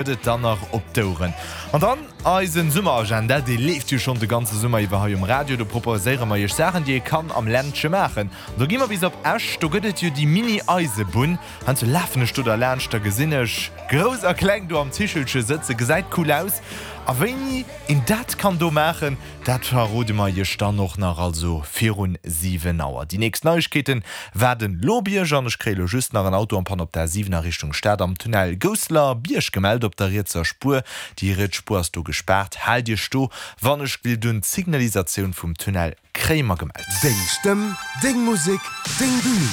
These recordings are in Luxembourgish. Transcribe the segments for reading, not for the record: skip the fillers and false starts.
Gëtt et dann nach op d'Oueren. An dann eisen Summeragenda, dee leeft jo schonn de ganze Summer iwwer hei um Radio. Do proposéiere mer iech Saachen, déi ee kann am Ländche maachen. An do gi mer bis op Esch, do gëtt et jo déi Mini-Eisebunn. Heiansdo lafen ech do derlaanscht, da gesinn ech Grouss a Kleng do am Zichelche sëtzen. Gesäit cool aus. A wéini een dat kann do maachen, Dat verrode mer iech dann och nach, also virun 7 Auer. Déi nächst Neiegkeeten waarden lo op iech an ech kréie lo just nach en Auto en panne op der A7 a Richtung Stad am Tunnel Gousseler Bierg gemellt op der rietser Spuer. Déi riets Spuer ass do gespaart. Haalt iech do wann ech will dunn d'Signalisatioun vum Tunnel kréie mer gemellt. Deng Stëmm, deng Musek, deng Bühn.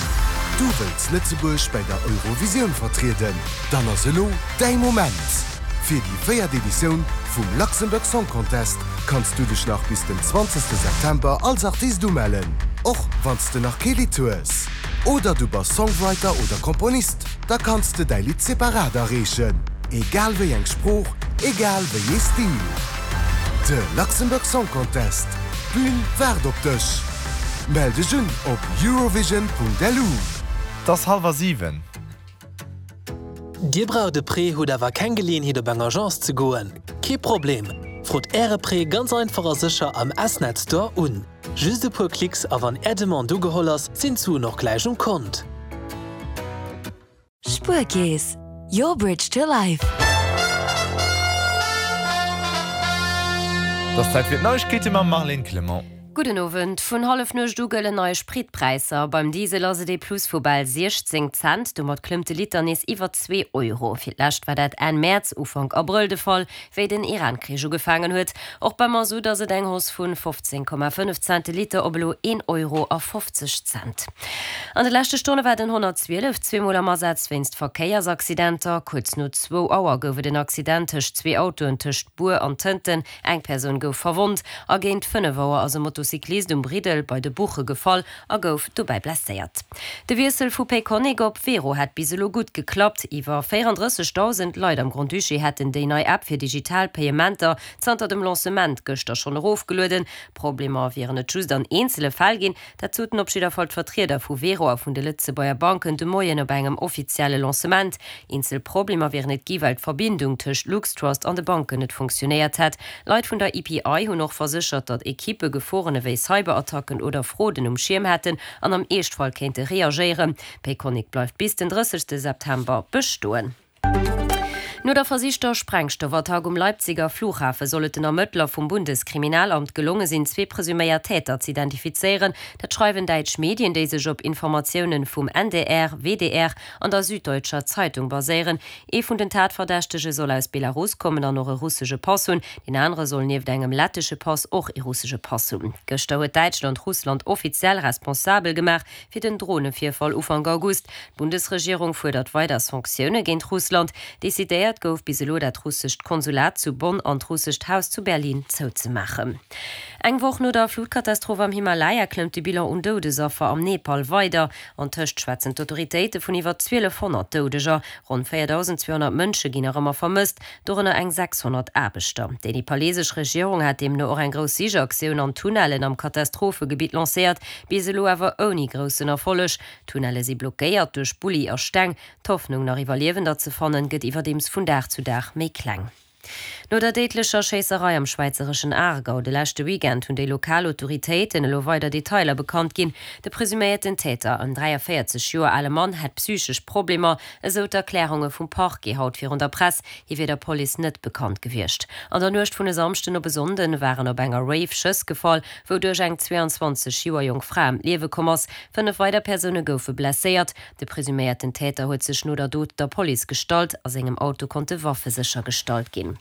Du wëlls Lëtzebuerg bäi der Eurovisioun vertrieden? Dann ass elo däi Moment! Fir déi véiert Editioun vum Luxembourg Song Contest kanns du dech nach bis den 20 September als Artist umellen, och wann s de nach kee Lidd hues. Oder du bass Songwriter oder Komponist, da kanns de däi Lidd separat areechen, egal wéi eng Sprooch, egal wéi ee Stil. De Luxembourg Song Contest, d'Bün waart op dech! Mell dech un op eurovision.lu. Et ass hallwer 7. Dir braucht e Prêt, hutt awer keng Geleeënheet op eng Agence ze goen? Kee Problem! Frot Äre Prêt ganz einfach a sécher am S-Net Store un. Just e puer Klicks a wann Är Demande ugeholl ass, sinn d'Suen och gläich um Kont. Spuerkeess, your bridge to life. Et ass Zäit fir d'Neiegkeete mam Marlène Clement. Gudden Owend. Vun Hallefnuecht u gëllen nei Spritpräisser. Beim Diesel ass et ee Plus vu bal 16 Cent. Domat klëmmt de Liter nees iwwer zwee Euro. Fir d'lescht war dat Enn Mäerz, Ufank Abrëll de Fall, wéi den Iran-Krich ugefaangen huet. Och beim Masutt ass et eng Hausse vun 15,5 Cent de Liter op elo een Euro a 50 Cent. An de leschte Stonne war den 112 zweemol am Asaz wéinst Verkéiersaccidenter. Kuerz no zwou Auer gouf et en Accident tëscht zwee Autoen tëscht Bur an Tënten. Eng Persoun gouf verwonnt a géint 5 Auer ass e Motocyclist um Briddel bei de Buche gefall a gouf dobäi blesséiert. De Wiessel vu Payconiq op Wero hätt bis elo gutt geklappt. Iwwer 34.000 Leit am Grand-Duché hätten déi nei App fir digital Payementer zanter dem Lancement gëschter schonn erofgelueden. Problemer wieren et just an eenzele Fäll ginn. Dat soten op jidder Fall d'Vertrieder vu Wero a vun de Lëtzebuerger Banken de Moien op engem offizielle Lancement. Eenzel Problemer wieren et gi well d'Verbindung tëscht LuxTrust an de Banken net funktionéiert hätt. Leit vun der EPI hunn och verséchert, datt Ekippe Geforen ewéi Cyberattacken oder Froden um Schierm hätten an am Eeschtfall kéinte reagéieren. Payconiq bleift bis den 30 September bestoen. No der versichter Sprengstoffattack um Leipziger Flughafe soll et den Ermëttler vum Bundeskriminalamt gelonge sinn, zwee presuméiert Täter z'identifizéieren. Dat schreiwen däitsch Medien, déi sech op Informatioune vum NDR, WDR an der Süddeutscher Zeitung baséieren. Ee vun den Tatverdächtege soll aus Belarus kommen an och e russesche Pass hunn. Deen anere soll nieft engem lettesche Pass och ee russesche Pass hunn. Gëschter huet Däitschland Russland offiziell responsabel gemaach fir den Dronevirfall Ufank August. D'Bundesregierung fuerdert weider Sanktioune géint Russland. Decidéiert gouf bis elo, dat russescht Konsulat zu Bonn an d'russescht Haus zu Berlin zouzemaachen. Eng Woch no der Flutkatastroph am Himalaya klëmmt de Bilan un Doudesaffer am Nepal weider. Antëscht schwätzen d'Autoritéite vun iwwer 1.200 Doudeger. Ronn 4.200 Mënsche ginn nach ëmmer vermësst, dorënner eng 600 Aarbechter. Déi nepalesesch Regierung hat deemno och eng grouss Sichaktioun an Tunnellen am Katastrophegebitt lancéiert, bis elo awer ouni groussen Erfolleg. D'Tunnelle si blockéiert duerch Bulli a Steng. D'Hoffnung, nach Iwwerliewender ze fannen, gëtt iwwerdeems vun Dag zu Dag méi kleng. No der déidlecher Schéisserei am schwäizereschen Aargau de leschte Weekend hunn déi lokal Autoritéiten elo weider Detailer bekannt ginn. De presuméierten Täter, en 43 Joer ale Mann, hätt psychesch Problemer, esou d'Erklärunge vum Parquet haut virun der Press. Hie wier der Police net bekannt gewiescht. An der Nuecht vun e Samschden op e Sonnden waren op enger Rave Schëss gefall, wouduerch eng 22 Joer jonk Fra ëm d'Liewe komm ass. 5 weider Persoune goufe blesséiert. De presuméierten Täter huet sech no der Dot der Police gestallt. A sengem Auto konnte Waffe séchergestallt ginn.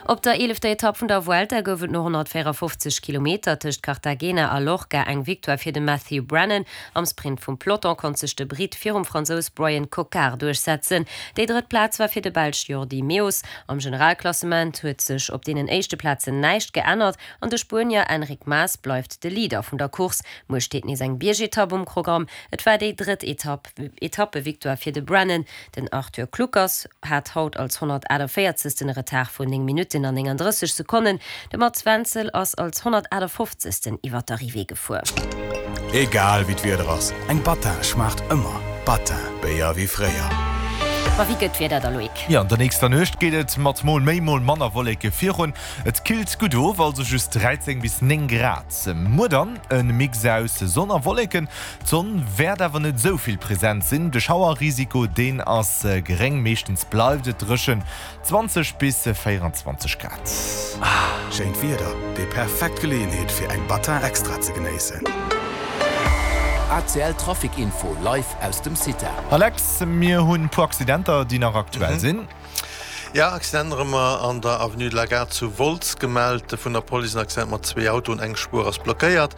Op der eelefter Etapp vun der Vuelta gouf et no 154 Kilometer tëscht Cartagena a Lorca eng Victoire fir de Matthew Brennan. Am Sprint vum Peloton konnt sech de Britt virum Fransous Bryan Coquard duerchsetzen. Déi drëtt Plaz war fir de Belsch Jordi Meeus. Am Generalklassement huet sech op deenen éischte Plazen näischt geännert an de Spuenier Enric Mas bleift de Leader vun der Course. Muer steet nees eng Biergetapp um Programm. Et war déi drëtt Etapp Etappevictoire fir de Brennan. Den Arthur Kluckers hat haut als 148. e Retard vun 9 Minutten an 39 Sekonnen. De Mats Wenzel ass als 158. iwwer d'Arrivée gefuer. Egal wéi d'Wieder ass, eng Battin schmaacht ëmmer. Battin, Béier wéi fréier. Ma wéi gëtt d'Wieder da, Loïc? Jo, an der nächster Nuecht geet et mat mol méi, mol manner Wolleke virun. Et killt gutt of, also just 13 bis 9 Grad. Muer dann e Mix aus Sonn a Wolleken. D'Sonn wäert awer net esou vill present sinn. De Schauerrisiko, deen ass geréng, meeschtens bleift et dréchen, 20 bis 24 Grad. Schéint Wieder, déi perfekt Geleeënheet fir eng Battin Extra ze genéissen. ACL Trafic Info live aus dem CITA. Alex, mir hunn puer Accidenter déi nach aktuell sinn. Jo, Accident erëm an der Avenue de la Gare zu Wolz gemellt vun der Police. En Accident mat zwee Autoen, eng Spuer ass blockéiert.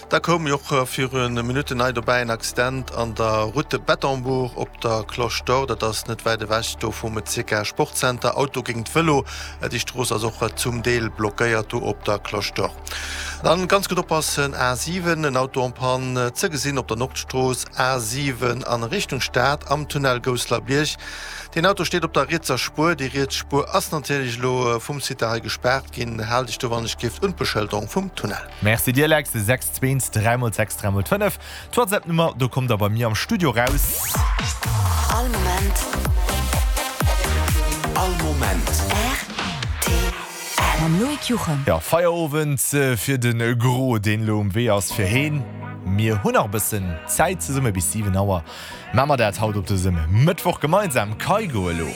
Da koum jo och viru Minutten nei dobäi en Accident an der Route de Bettembourg op der Cloche d'Or. Dat ass net wäit ewech do vum CK Sportcenter. Auto géint Vëlo. Déi Strooss ass och zum Deel blockéiert do op der Cloche d'Or. Dann ganz gutt oppassen, A7, en Auto en panne ze gesinn op der Nordstrooss A7 an Richtung Stad am Tunnel Gousselerbierg. Deen Auto steet op der rietser Spuer. Déi riets Spuer ass natierlech elo vum Site hei gespaart ginn. Haalt iech do wann ech giff un d'Beschëlderung vum Tunnel. Merci dir Lex, 6 2 3 mol 6 3 mol 5, d'Whatsapp Nummer, do kommt der bei mir am Studio raus. All Moment. All Moment. Rtl. Mam Loïc Juchem. Jo, Feierowend fir de Gros, deen elo um Wee ass fir heem. Mir hunn nach e bëssen Zäit zesumme bis 7 Auer. Maache mer dat haut op dësem Mëttwoch gemeinsam. Kygo elo.